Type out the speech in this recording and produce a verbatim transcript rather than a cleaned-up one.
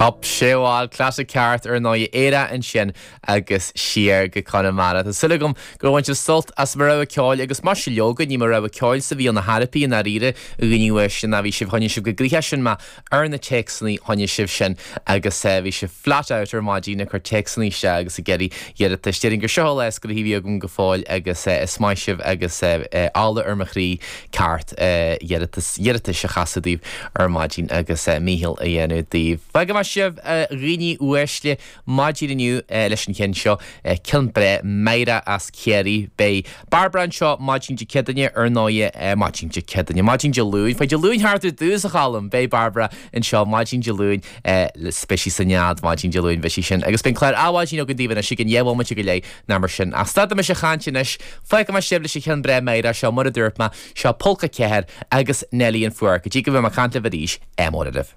Cop séháil clasa ceart ar nóí éire ansin agus siar go Conamara. Tá súil agam gur bhain sibh sult as mo rogha ceoil agus mar sin leoga ní mo rogha ceoil sa bhí na harpaí an aríre a ghníomh sin a bhí sibh choinnigh sibh go gríche sin má ar na téacsanna choinnigh sibh sin agus eh, bhí sibh flat out ar maidin ag cur téacsanna isteach agus ag iarraidh iarratais. Déarfainn gur seo leis go bhí agam go fóill agus eh, is maith sibh agus eh, ála ar mo chroí ceart iarratas iarratais a chasadh daoibh ar maidin agus mícheall a dhéanamh daoibh. Fágfaidh mé sibh dhaoine uaisle maidin inniu leis an cheann seo ceann breá Máire as Ciarraí Beidh Barbara anseo maidin Dé Céadaoine ar ndóigh maidin Dé Céadaoine maidin Dé Luain Fá Dé Luain thart ar dtús a chalm Beidh Barbara anseo maidin Dé Luain beidh sí sa nead maidin Dé Luain beidh sí sin agus beidh clár Adhmhaidin againn daoibh anois ag an dheich go leith ná mar sin ach stadfaidh mise ag caint anois fágfaidh mé sibh leis an cheann breá Máire seo mar a dúirt mé seo Pólca Ceathair agus Neilí an Fuar go dtí go mbeidh mé ag caint libh arís ádh mór oraibh.